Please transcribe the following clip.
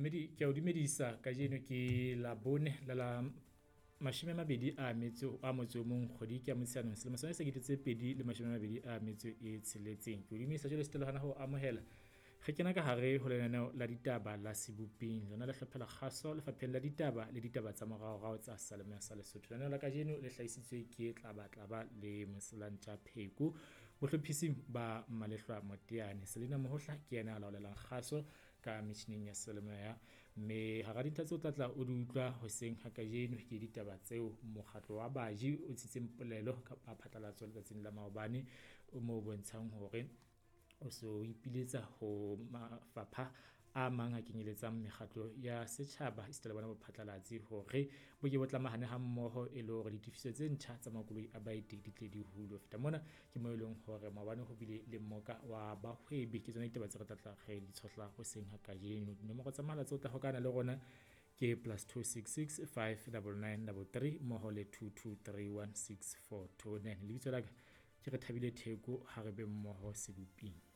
Mamedi, ke a o dumedisa. Kajeno ke Labone la la 28 a motso o mong, kgwedi ke ya Motsheanong, selemo sona se 2026. Ke o dumedisa jwale setelo hana ho amohela. Re kena ka hare ho lenaneo la ditaba la Seboping, lona le hlophela kgaso lefapheng la ditaba le ditaba tsa moraorao tsa Salemoya sa Lesotho. Lenaneo la kajeno le hlahisitswe ke Tlabatlaba le Moselantja Pheko, bohlophising ba Malehlwa Moteane. Selina Mohohla ke yena a laolelang kgaso ka metjhining ya selemoya. Mme hara dintlha tseo tlatla o di utlwa hoseng ha kajeno ke ditaba tseo mokgatlo wa baji o ntshitseng polelo kapa phatlalatso letsatsing la maobane, o mo bontshang hore o so ipiletsa ho mafapha a mang a kenyeletsang mekgatlo ya setjhaba esita le bona bophatlalatsi hore bo ke bo tlamahane ha mmoho e le hore ditefiso tse ntjha tsa makoloi a baeti di tle di hulwe. Feta mona ke mo e leng hore maobane ho bile le mmoka wa bahwebi. Ke tsona ditaba tse re tlatla re di tshohla hoseng ha kajeno. Dinomoro tsa mohala tseo tla hokana le rona ke +266 599 33 mmoho le 22316429. Lebitso la ka ke re Thabile Theko. Ha re be mmoho Seboping.